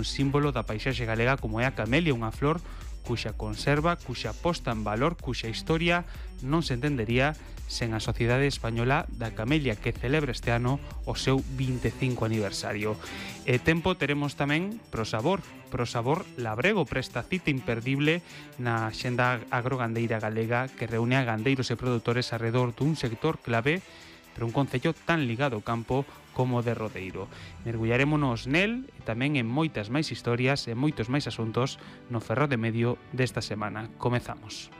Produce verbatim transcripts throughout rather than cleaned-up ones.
un símbolo da paisaxe galega como é a camelia, unha flor cuxa conserva, cuxa posta en valor, cuxa historia non se entendería sen a Sociedade Española da Camelia, que celebra este ano o seu vinte e cinco aniversario. E tempo teremos tamén pro sabor, pro sabor labrego, presta cita imperdible na xenda agrogandeira galega que reúne a gandeiros e produtores arredor dun sector clave pero un concello tan ligado ao campo como de Rodeiro. Mergullarémonos nel e tamén en moitas máis historias e moitos máis asuntos no Ferrol de Medio desta semana. Comezamos.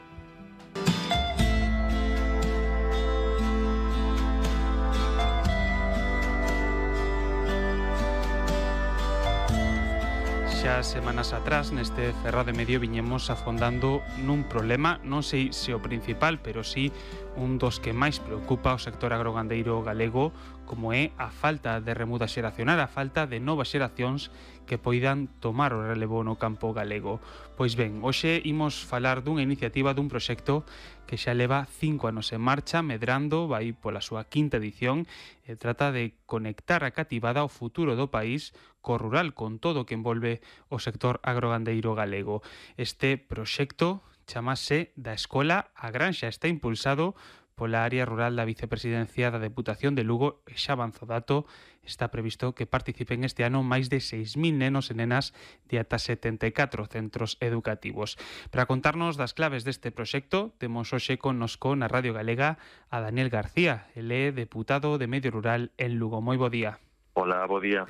Xa semanas atrás neste Ferrol de Medio viñemos afondando nun problema, non sei se o principal, pero sí un dos que máis preocupa o sector agrogandeiro galego, como é a falta de remuda xeracional, a falta de novas xeracións que poidan tomar o relevo no campo galego. Pois ben, hoxe imos falar dunha iniciativa, dun proxecto que xa leva cinco anos en marcha, medrando, vai pola súa quinta edición, e trata de conectar a cativada ao futuro do país co rural, con todo o que envolve o sector agrogandeiro galego. Este proxecto chamase Da Escola á Granxa, está impulsado pola área rural da Vicepresidencia da Deputación de Lugo e xa avanzo dato, está previsto que participen este ano máis de seis mil nenos e nenas de ata setenta e catro centros educativos. Para contarnos das claves deste proxecto, temos hoxe connosco na Radio Galega a Daniel García, ele é deputado de Medio Rural en Lugo. Moi bo día. Hola, bo día.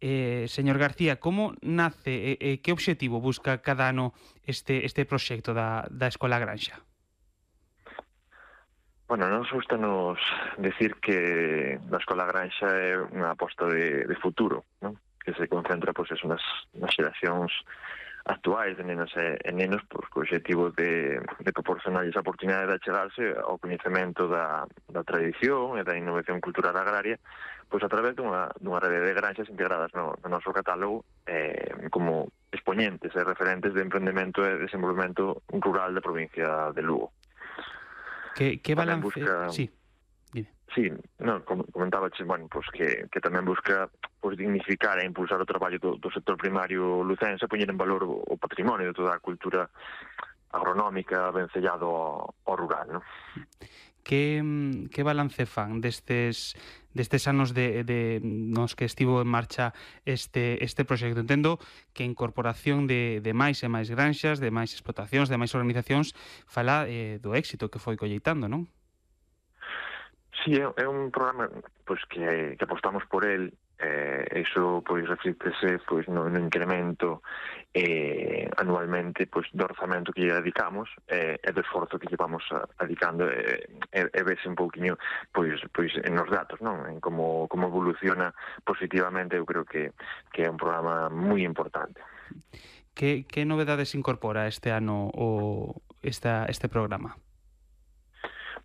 Eh, señor García, como nace e eh, que obxectivo busca cada ano este, este proxecto da, da Escola Granxa? Bueno, nos gusta nos decir que a Escola Granxa é unha aposta de, de futuro, ¿no? Que se concentra pues, eso, nas, nas xeracións actuais de nenas e, e nenos pues, co objetivo de, de proporcionarles a oportunidade de achegarse ao coñecemento da, da tradición e da innovación cultural agraria pois a través dunha, dunha rede de granxas integradas no, no noso catálogo eh, como expoñentes e referentes de emprendemento e desenvolvemento rural da provincia de Lugo. Que, que balance... Busca... Sí, dime. Sí, no, comentaba bueno, pues que, que tamén busca pues, dignificar e impulsar o traballo do, do sector primario lucense, poñer en valor o, o patrimonio de toda a cultura agronómica vencellado ao, ao rural, ¿no? Que, que balance fan destes destes anos de, de nos que estivo en marcha este este proxecto? Entendo que a incorporación de, de máis e máis granxas, de máis explotacións, de máis organizacións, fala eh, do éxito que foi colleitando, non? Sí, é, é un programa pues, que, que apostamos por el. Eh, iso pois reflítese pois no, no incremento eh, anualmente pois do orzamento que lle dedicamos eh, e do esforzo que lle vamos a, dedicando e eh, eh, vese un pouquiño pois pois en os datos, non? En como como evoluciona positivamente. Eu creo que que é un programa moi importante. Que que novedades incorpora este ano o esta este programa?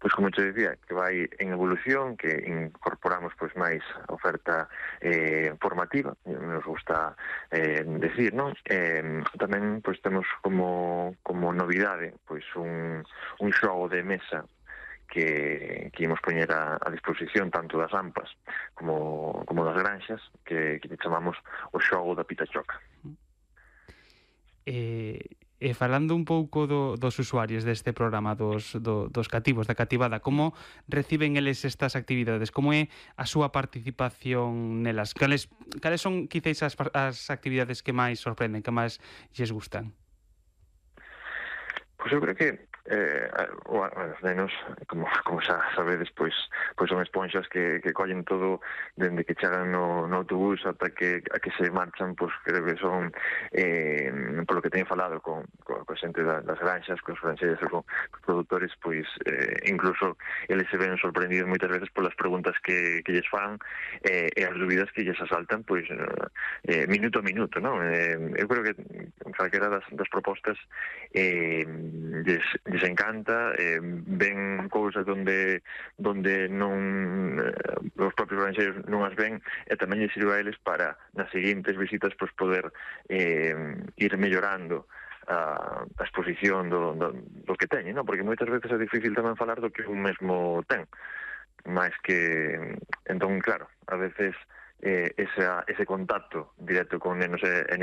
Pois como te decía, que vai en evolución, que incorporamos pois máis oferta eh, formativa, nos gusta eh, decir, non? Eh, tamén pois temos como como novidade pois un un xogo de mesa que, que imos poñer a, a disposición tanto das AMPAs como, como das granxas, que, que chamamos o xogo da pitachoca. Eh... E falando un pouco do, dos usuarios deste programa, dos, do, dos cativos, da cativada, como reciben eles estas actividades? Como é a súa participación nelas? Cales, cales son, quizáis, as, as actividades que máis sorprenden, que máis lles gustan? Pois eu creo que eh, os nenos, como, como xa sabedes, pois, pois son esponxas que, que collen todo dende que chegan no, no autobús ata que, a que se marchan, pois creo que son eh, polo que teño falado con, con, con xente das granxas, con os granxeiros e con os produtores, pois eh, incluso eles se ven sorprendidos moitas veces polas preguntas que, que lles fan eh, e as dúbidas que lles asaltan pois eh, minuto a minuto, non? Eh, eu creo que calquera das, das propostas eh, lles, lles encanta, eh, ven cousas donde donde non eh, os propios granxeiros non as ven, e tamén lles sirve a eles para nas seguintes visitas pois poder eh, ir mellorando a, a exposición do, do, do que teñen, non? Porque moitas veces é difícil tamén falar do que un mesmo ten, máis que entón, claro, a veces eh, esa, ese contacto directo con nenos e, e nenas